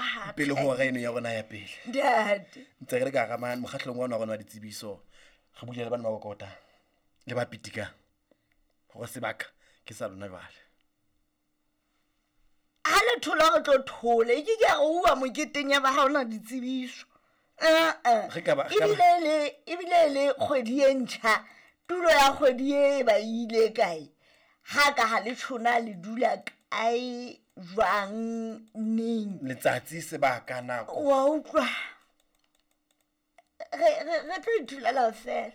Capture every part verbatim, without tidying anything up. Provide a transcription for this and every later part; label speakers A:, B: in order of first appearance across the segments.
A: hape.
B: Pele ho hora eno ya rona ya pele.
A: Ntate.
B: Ntse re le ka hara mane mokgahlelong wa rona wa ditsebiso. Re buile le bana ba kokota le ba pitikang hore sebaka ke sa lona jwale.
A: Ha le thola re tlo thola, e ke ke ya re uwa moketeng ya ba ha hona ditsebiso. Eh-eh.
B: Re ka ba- re ka ba-
A: Ebile le, ebile le kgwedi e ntjha, tulo ya kgwedi e ba ile kae? Ha ka ha le tjhona le dula kae, jwang, neng?
B: Letsatsi, sebaka, nako.
A: Wa utlwa? Re, re, re tlo ithulela fela.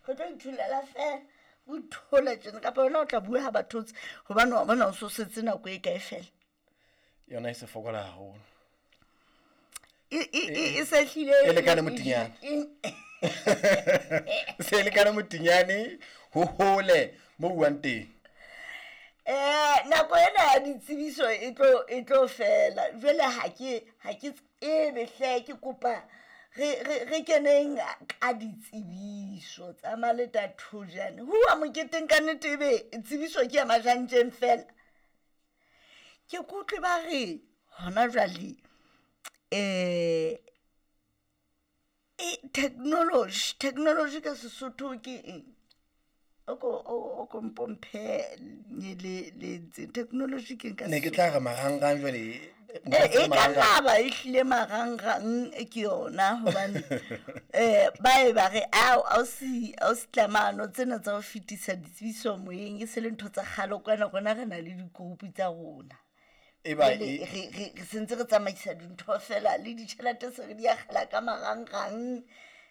A: Re tlo ithulela fela. O ithole tjena, kapa wena o tla bua ha ba thotse, hobane wa bona o so setse nako e kae fela.
B: Yona e se fokola haholo.
A: E, e, e, e se hlile
B: E lekane motinyane.
A: E,
B: Se lekane motinyane ho hole mo buang teng.
A: Eh, nako ena ya ditsebiso e tlo, e tlo fela. Jwale ha ke, ha ke tsebe hle, ke kopa re, re, re keneng ka ditsebiso tsa Maleta Thojane. Huwa moketeng ka nnete ebe tsebiso ke ya majantjeng fela. Ke kutlwe ba re hona jwale, eh, e, technology, technology ka Sesotho ke eng? O ko, o, o ko mpomphe le, le ntse. Technology ke eng ka
B: Ne ke
A: Sesotho?
B: tla re marangrang jwale,
A: E, e ka nna ba e hlile marangrang ke yona, hobane, eh, ba e ba re, ao, ausi, ausi Tlamano, tsena tsa ho fetisa ditsebiso moyeng e se le ntho tsa kgale kwana, rona re na le di-group tsa rona.
B: E ba
A: Jwale
B: e
A: re, re, re sentse re tsamaisa dintho fela, le ditjhelete se re di akgela ka marangrang.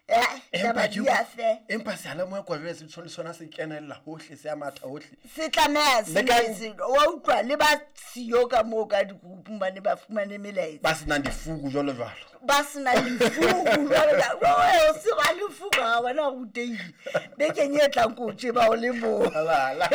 A: Eh,
B: Empa
A: taba
B: ke
A: di
B: utlwa-
A: a fe.
B: Empa seyalemoya kwa jwale se tshwana le sona se kenella hohle, se a matha hohle.
A: Se tlameha se
B: Le ka-
A: ne se, wa utlwa, le ba siyo ka moo ka di-groupung ba ne ba fumane melaetsa.
B: Ba senang difuku jwalo jwalo.
A: Ba senang difuku jwalo jwalo. Jwale o se ba lefuku ha wena o rutehile. Bekeng e tlang ko o tjeba o le mong.
B: Alala.